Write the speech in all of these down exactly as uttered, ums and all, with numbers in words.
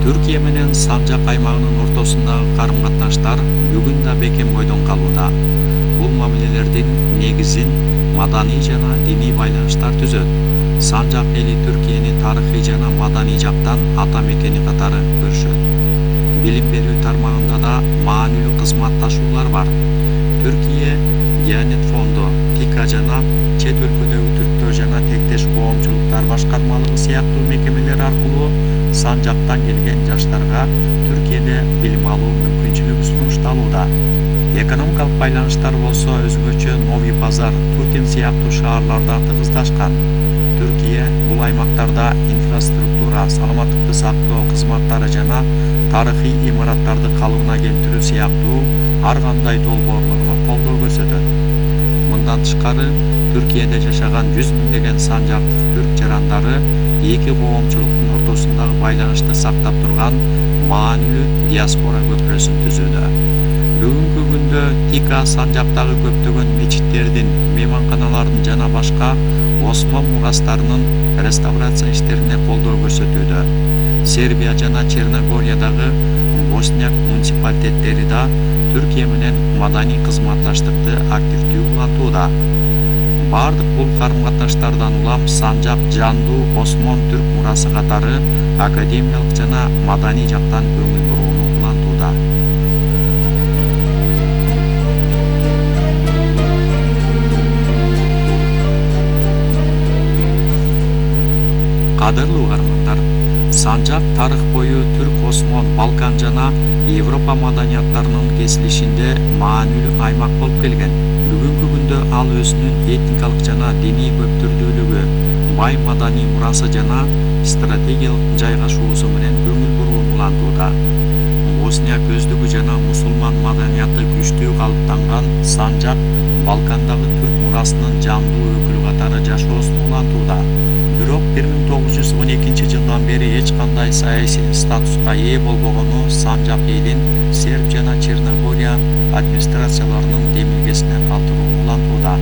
Түркия менен Санжак аймагынын ортосундагы карым-катнаштар бүгүн да бекем бойдон калууда. Бул мамилелердин негизин маданий жана диний байланыштар түзөт. Санжак эли Түркияны тарыхый жана маданий жактан ата мекени катары көрүшөт. Билим берүү тармагында да маанилүү кызматташуулар бар. Түркия Диянет фонду, ТИКА жана чет өлкөдөгү түрктөр жана тектеш коомчулуктар башкармалыгы сыяктуу мекемелер аркылуу Санжактан келген жаштарга Түркияда билим алуу мүмкүнчүлүгү сунушталууда. Экономикалык байланыштар болсо өзгөчө Новый Пазар, Тутин сыяктуу шаарларда тыгыздашкан. Түркия бул аймактарда инфраструктура, саламаттыкты сактоо кызматтары жана тарыхый имараттарды калыбына келтирүү сыяктуу ар кандай долбоорлорго колдоо көрсөтөт. Мындан тышкары, Түркияда жашаган жүз миңдеген санжактык түрк жарандары эки коомчулуктун ортосундагы байланышты сактап турган маанилүү диаспора көпүрөсүн түзүүдө. Бүгүнкү күндө ТИКА Санжактагы көптөгөн мечиттердин, мейманканалардын жана башка Осман мурастарынын реставрация иштерине колдоо көрсөтүүдө. Сербия жана Черногориядагы Босняк муниципалитеттери да Түркия менен маданий кызматташтыкты активдүү улантууда. Бардык бул карым-катнаштардан улам Санжак жандуу Осмон түрк мурасы катары академиялык жана маданий жактан көңүл бурууну улантууда. Кадырлуу угармандар, Санжак тарых бою Түрк-Осмон, Балкан жана Европа маданияттарынын кесилишинде маанилүү аймак болуп келген. Бүгүнкү күндө ал өзүнүн этникалык жана диний көптүрдүүлүгү, бай маданий мурасы жана стратегиялык жайгашуусу менен көңүл бурууну улантууда. Босния көздүгү жана мусулман маданияты күчтүү калыптанган Санжак Балкандагы түрк мурасынын жандуу өкүлү катары жашоосун улантууда. Бирок бир миң тогуз жүз он экинчи жылдан бери эч кандай саясий статуска ээ болбогону Санжак элин Серб жана Черногория администрацияларынын демилгесине калтырууну улантууда.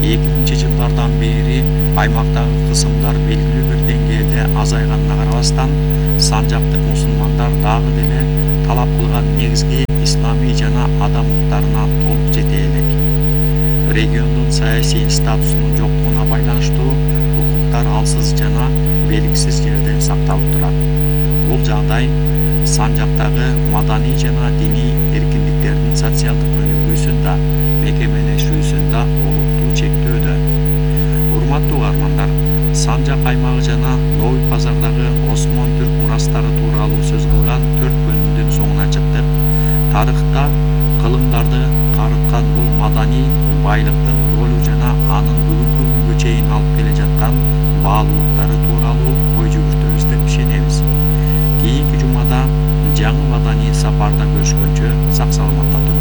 эки миңинчи жылдардан бери аймактагы кысымдар белгилүү бир деңгээлде азайганына карабастан, санжактык мусулмандар дагы деле талап кылган негизги исламий жана адам укуктарына толук жете элек. Региондун саясий статусунун жоктугуна байланыштуу укуктар алсыз жана белгисиз жерде сакталып турат. Бул жагдай Санжактагы маданий жана диний эркиндиктердин социалдык өнүгүүсүн да, мекемелешүүсүн да олуттуу чектөөдө. Урматтуу угармандар, Санжак аймагы жана Новый Пазардагы Осмон түрк мурастары тууралуу сөз кылган төрт бөлүмдүн соңуна чыктык. Тарыхта кылымдарды карыткан бул маданий байлыктын ролу жана анын бүгүнкү күнгө чейин алып келе жаткан баалуулуктары тууралуу ой жүгүртөбүз деп ишенебиз. Кийинки жумада жаңы маданий сапарда көрүшкөнчө сак саламатта туруңуздар.